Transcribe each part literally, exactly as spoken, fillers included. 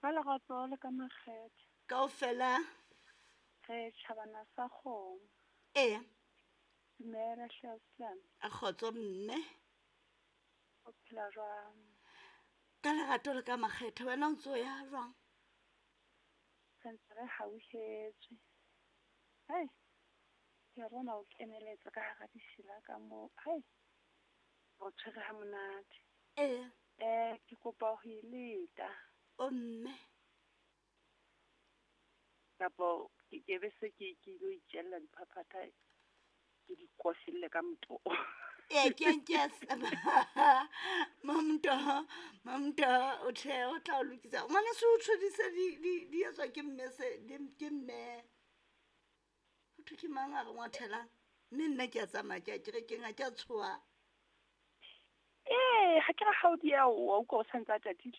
Ka lerato le ka makgethe. Kaofela. Re tjhabana sa kgomo. Eya. Dumela hle ausi. A kgotso mme. O phela jwang? Ka lerato le ka makgethe wena o ntso ya jwang? Re ntse re hauhetswe. Hai, ke a bona o keneletsa ka hara dishela ka moo, hai, o tshwere ha monate. Eya. Eh, ke kopa ho e leta. O mme. Kapo ke ke be se ke ke ilo itjella diphaphatha, ke di koselle ka motoho. Ee, ke ke Mamto, Mamto, o tjhe o tla o lokisa. Ngwaneso o tjhodise di di di etswa ke mme se di ke mme. Ho thwe ke mang a re ngwathelang? Mme nna ke a tsamaya ke ya kerekeng ha ke a tshoha. Ee, ha ke re ha o dieha wa utlwa o santsa a tatile.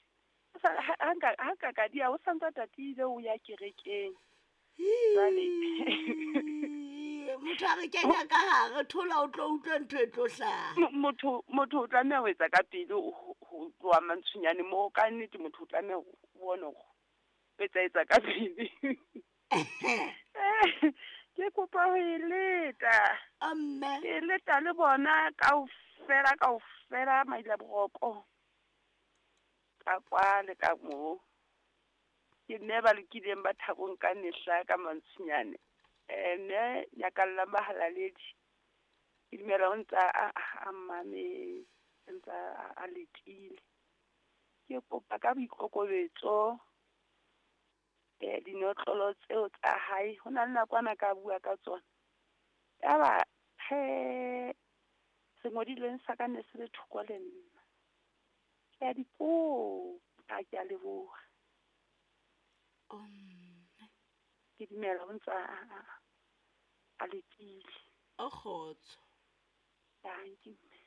O sa ha ha nka ha nka ka dieha o santsa tatile o ya kerekeng. Jwale Motho a re kenya ka hare thola o tlo utlwa ntho e tlo hlaha. Motho motho o tlameha ho etsa ka pele ho ho tloha mantshunyane moo ka nnete motho o tlameha ho bona hore o etsa etsa ka pele. Ke kopa ho e leta. A mme. Ke leta le bona kaofela kaofela Mailaboroko. Ka kwa le ka moo. Ke mme ba lokileng ba thabong ka mehla ka mantshunyane. Eh mme nyakallang bahalaledi. Ke dumela o ntsa a, a mmametse, ntsa a, a letile. Ke kopa ka boikokobetso, eh dinotlolo tseo tsa hae, ho na le nakwana ka bua ka tsona. Yaba he sengodilweng sa ka ne se le thoko le nna. Ke a di kopa, ke a leboha. O mme. Ke dumela o ntsa a, a, a letile. O kgotso. Dankie mme.